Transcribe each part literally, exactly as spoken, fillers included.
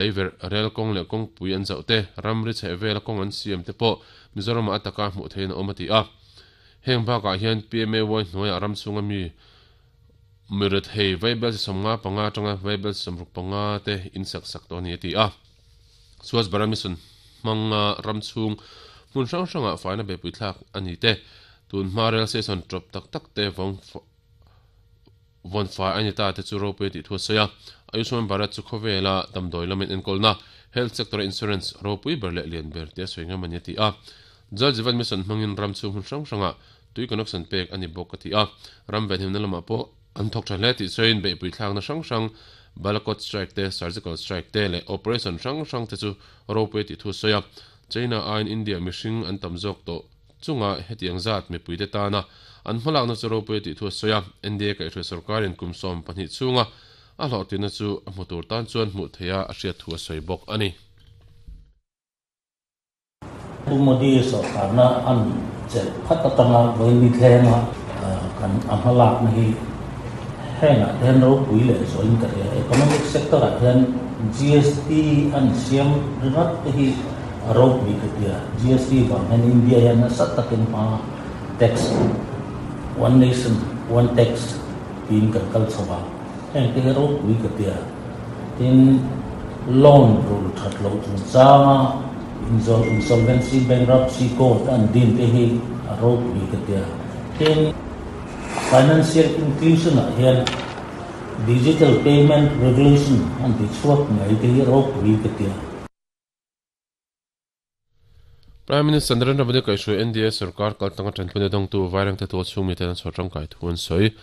Leiver rel kawng leh kawngpui an zauh te, ramri chheh vela kawng an siam te pawh Mizoramah a taka hmuh theihin a awm a ti a. Heng bakah hian P M A Y hnuaiah ram chhunga mi mirethei vaibel chi sawmnga panga atanga vaibel chi sawmruk panga te in sak sak tawh a ni a ti a. Swachh Bharat Mission hmanga ram chhung hmun hrang hrangah faina beihpui thlak a ni te, tun hma rail station tawp tak tak te vawng vawn fai a ni ta te chu ropui a tih thu a sawi a. Ayushman Bharat chu khawvela damdawi lamin enkawlna, health sector insurance ropui ber leh lian ber te a sawi ngam a ni a ti a. Jal Jeevan Mission hmangin ram chhung hmun hrang hrangah tui connection pek a ni bawk a ti a. Ram venhimna lamah pawh an thawk tha hle tih sawiin beihpui thlakna hrang hrang Balakot strike te, surgical strike te leh operation hrang hrang te chu ropui a tih thu a sawi a. China aiin India mihring an tam zawk tawh chunga hetiang zat mipuite tana an hmalakna chu ropui a tih thu a sawi a. N D A kaihhruai sorkarin kum sawm pahnih chhunga a hlawhtlinna chu a hmu tur tan chuan hmuh theia a hriat thu a sawi bawk a ni. Pu Modi sorkarna an chelh phat atanga vawiin ni thlenga kan a hmalakna hi hengah te hian ropui leh zualin ka hria. Economic sector ah hian G S T an siam ringawt te hi a ropui ka tia. G S T vang hian India hian nasa takin hma, tax, one nation one tax tiin kan kal chho a, heng te hi ropui ka tia. Tin, loan rul that lo chungchanga insolvency, bankruptcy code an din te hi a ropui ka tia. Tin, financial inclusion ah hian digital payment revolution an ti chhuak mai te hi ropui ka tia. Prime Minister Narendra Modi kaihhruai N D A sarkar kaltanga tanpui dawngtu Vairengte tual chhung mi ten an chhawr tangkai thu an sawi.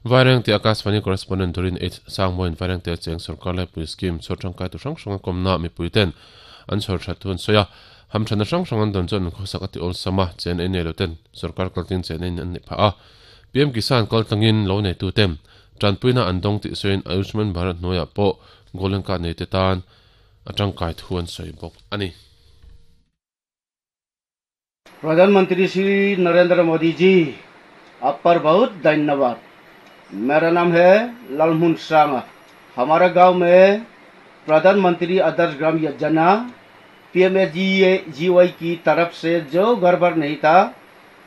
Vairengte Akashvani correspondent Dorin H Sangmoin Vairengte cheng sarkar laipui scheme chhawr tangkai tu hrang hrang a kawmna mipui ten an chhawr that thu an sawi a. Ham thana hrang hrang an don chuan khawsak ati awl sama chen ei nei lo ten sarkar kaltin chen ein an ni pha a. P M Kisan kaltangin lo nei tu ten tanpuina an dawng tih sawiin Ayushman Bharat hnuaiah pawh Golden Card nei te tan atangkai thu an sawi bawk ani. प्रधानमंत्री श्री नरेंद्र मोदी जी, आप पर बहुत धन्यवाद। मेरा नाम है लालमुन सांगा। हमारा गांव में प्रधानमंत्री आदर्श ग्राम Yojana P M G G Y की तरफ से जो घर भर नहीं था,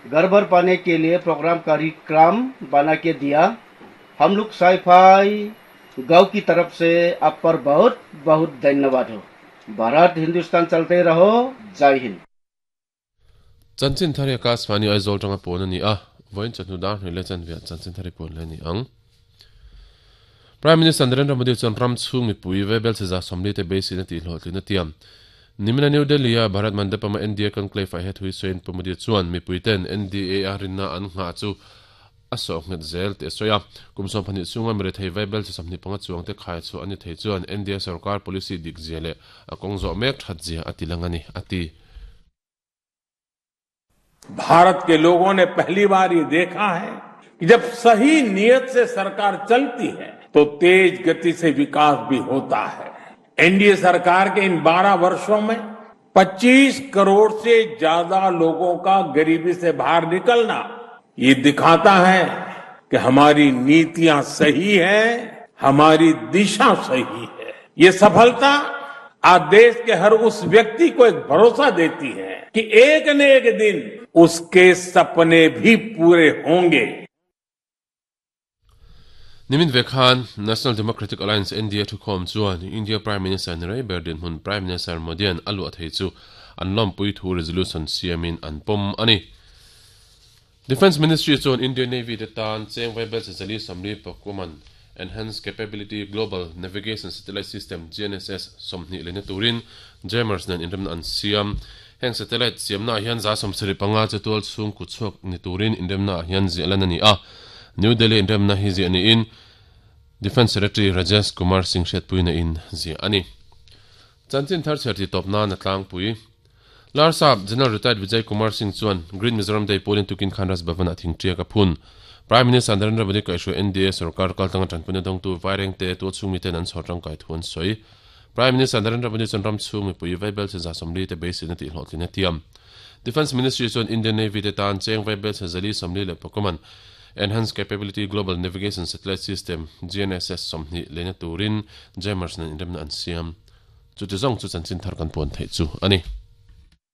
घर भर पाने के लिए प्रोग्राम कार्यक्रम बना के दिया। हम लोग साईफाई गांव की तरफ से आप पर बहुत बहुत धन्यवाद हो। भारत हिंदुस्तान चलते रहो। जय Hind. Chanchin thari Akashvani Aizawl tanga pawn ani a. Vawiin chawhnu dar hnih leh chanve chanchin thari pawn le ni ang. Prime Minister Narendra Modi chuan ram chhung mipui vaibel chi za sawmli te beiseina tih hlawhtlin a tiam. Nimina New Delhi a Bharat Mandapama N D A conclave ah he thui sawiin Pu Modi chuan mipui ten N D A a rinna an nghah chu a sawh nghet zel tih a sawi a. Kum sawm pahnih chhunga mirethei vaibel chi sawmhnih panga chuang te khai chu ani thei chuan N D A sarkar policy dik zia leh a kawng zawh mek that zia a ti lang ani a ti. Bharat के लोगों ने पहली बार ये देखा है कि जब सही नियत से सरकार चलती है तो तेज गति से विकास भी होता है। एनडीए सरकार के इन बारह वर्षों में पच्चीस करोड़ से ज्यादा लोगों का गरीबी से बाहर निकलना, ये दिखाता है कि हमारी नीतियां सही है, हमारी दिशा सही है। ये सफलता आज देश के हर उस व्यक्ति को एक भरोसा देती है कि एक न एक दिन उसके सपने भी पूरे होंगे। Nimin vekhan National Democratic Alliance N D A thukhawm chuan India Prime Minister Narendra Berdin hun Prime Minister Modian alu thei chu an lawmpui thu resolution siamin an pawm ani. Defense Ministry chuan Indian Navy te tan cheng vaibel chi zali sawmli pakuman Enhanced Capability Global Navigation Satellite System G N S S sawmhnih lehna turin Jammers nen inremna an siam. Heng satellite siamna hian za sawmsarih panga chu tual chhung kut chhuak ni turin inremna hian ziah lan ani a. New Delhi inremna hi ziah ni in Defense Secretary Rajesh Kumar Singh hriatpuina in ziah ani. Chanchin thar chher ti tawp na na tlangpui. Larsap General Retired Vijay Kumar Singh chuan Green Mizoram Day pualin tukin khan Raj Bhavan a thingṭiak a phun. Prime Minister Narendra Modi kaihhruai N D A sarkar kaltanga tanpuina dawngtu Vairengte tual chhung mi ten an chhawr tangkai thu an sawi. Prime Minister Narendra Modi chuan ram chhung mipui vaibel chi za sawmli te beiseina tih hlawhtlin a tiam. Defense Ministry chuan Indian Navy te tan cheng vaibel chi zali sawmli leh pakuman Enhanced Capability Global Navigation Satellite System G N S S sawmhnih lehna turin Jammers nen inremna an siam. Chuti zawng chu chanchin thar kan puan theih chu a ni.